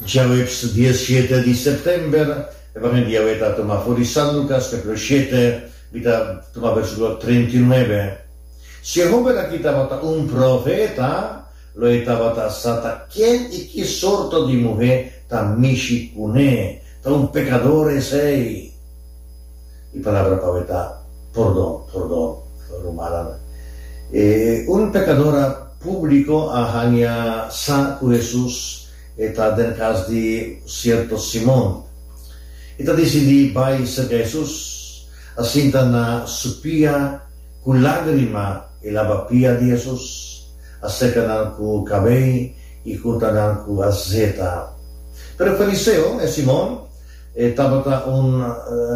Djaweps diesshete di sèptèmber, Evangelio di awe ta tuma for di San Lukas kapitulo shete, mi ta tuma versíkulo 39. Si e hóben aki tabata un profeta, lo e tabata sa ta ken i ki sorto di muhé ta mishi kuné. Ta un pekador esei. E palabra pa awe ta pordon, pordon, rumannan. E un pekadora públiko a haña sa ku Hesus e ta den kas di sierto Simon. E ta disidí bai serka Hesus, a sinta na su pia ku lágrima e laba pia di Hesus, a seka nan ku kabei i hunta nan ku azeta. Pero e fariseo, e Simon, e tabata un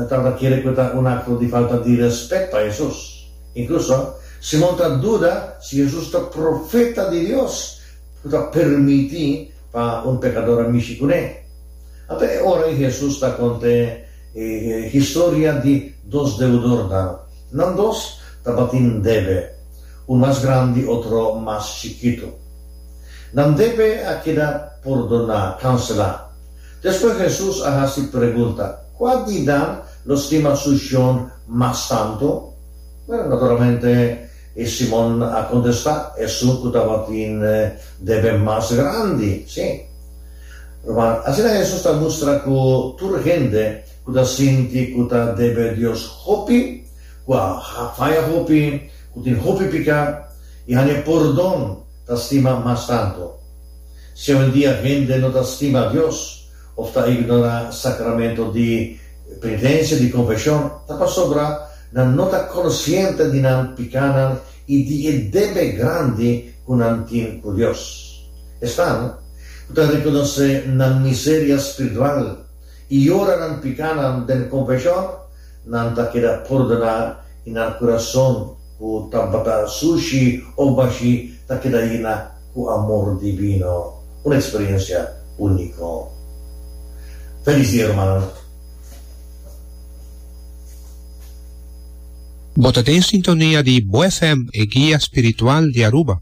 tabata kere ku ta un akto di falta di rèspèt pa Hesus. Inkluso, Simon ta duda si Hesus ta profeta di Dios ku ta permití pa un pekador a mishi kuné. Anto e ora ei Hesus ta kont'é e historia di dos deudornan. Nan dos tabatin debe, un mas grandi, otro mas chikitu. Nan debe a keda pordoná, kanselá. Despues Hesus a hasi pregunta, Kua di nan lo stima su shon mas tantu? Bueno, naturalmente E Simon a kontestá, Esun ku tabatin debe mas grandi. Sí. Ruman, asina Hesus ta mustra ku tur hende ku ta sinti ku ta debe Dios hopi, ku a faya hopi, ku tin hopi piká i haña pordon, ta stima mas tantu. Si awendia hende no ta stima Dios òf ta ignorá sakramento di penitensia, di konfeshon, ta pasobra Nan no ta konsiente di nan pikánan i di e debe grandi ku nan tin ku Dios. Esnan ku ta rekonosé nan miseria spiritual i yora nan pikánan den konfeshon, nan ta keda pordoná i nan kurason ku tabata sushi òf bashí ta keda yena ku amor divino. Un eksperensia úniko. Felis dia, rumannan! Bo ta den sintonia di Bo FM, e guia spiritual di Aruba.